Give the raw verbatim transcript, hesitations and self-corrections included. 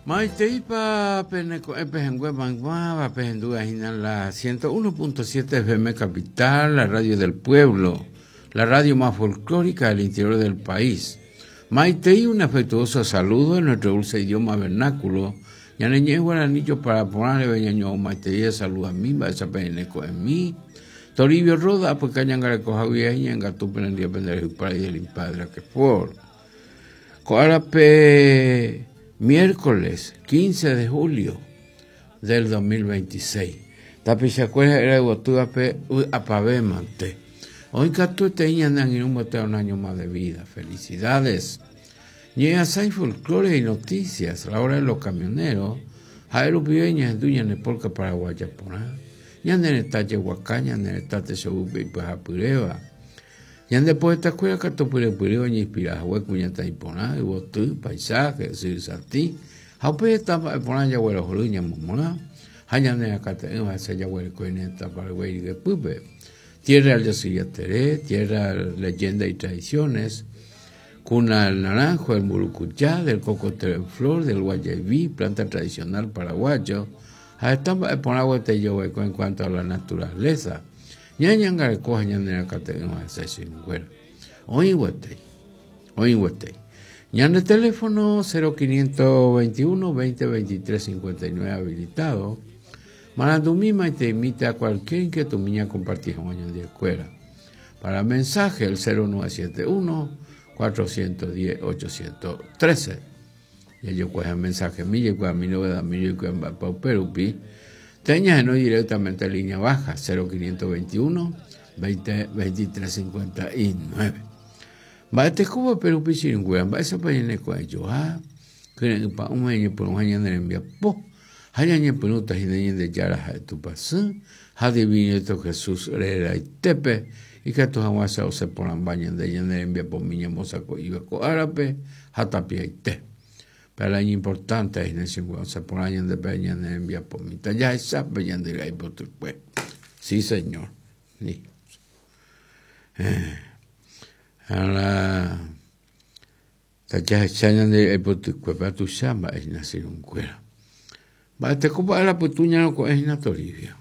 Maiteipa peneko'ẽpe manguaba pehendúva la ciento uno punto siete F M Capital, la radio del pueblo, la radio más folclórica del interior del país. Maitei, un afectuoso saludo en nuestro dulce idioma vernáculo. Ñaneñe guaranillo para ponerle beñaño maitei saluda a mí, va esa peneco en mí. Toribio Roda, pues cañangareco javier y engatu penendía pendejo para ir el padre que por. Coarape miércoles quince de julio del dos mil veintiséis. Tapichacuera era de apavemante. Hoy catu te iñan y un boteo un año más de vida. Felicidades. Ñeasai folclore y noticias. La hora de los camioneros. Jaero pibeña duña nepolca paraguaya porá. Ñande talle huacaña, ñande segupe y pajapureva. Ñande poeta escuela catopure pureva ñi inspira hueco ñata y porá, y botú, paisaje, sirsanti. Jaupe etapa porá ya huero joruña momorá. Jañane acate va a ser ya huero coineta paraguay de pupe. Tierra del Yacillateré, tierra leyenda y tradiciones, cuna del naranjo, del murucuyá, del cocotero en flor, del guayabí, planta tradicional paraguayo. Estamos por agua te yo en cuanto a la naturaleza. Ñañanga coja ñanera categua se Hoy huete, hoy huete. Ñande teléfono cero quinientos veintiuno veinte veintitrés cincuenta y nueve habilitado. Marandumima y te invita a cualquier inquietud mía compartir un año de escuela. Para mensaje el cero nueve siete uno cuatrocientos diez ochocientos trece. Y yo cojo mensaje mío, y cojo mi novedad mío, y cojo pa Perupi. Teñas no directamente en línea baja cero quinientos veintiuno veinte veintitrés cincuenta y nueve. Va este cubo Perupi sin güey, va esa pañene con ellos, ah, que pa un año por un año en envía po. Hañañe penuta jineñe de yara de tu pasú, jadivino esto Jesús rera y tepe, y que tus aguas se ponan bañan de ñane envía por miña mozaco iba co árabe, jatapia y te. Pero el año importante es en ese se ponen de peña de envía por mi ya esa peña de la por tu pues. Sí, señor. Sí. Eh, a la ya esa de por tu cuerpo tu chamba es nacer un cuero. Va te copa la putuña no es na Toribio.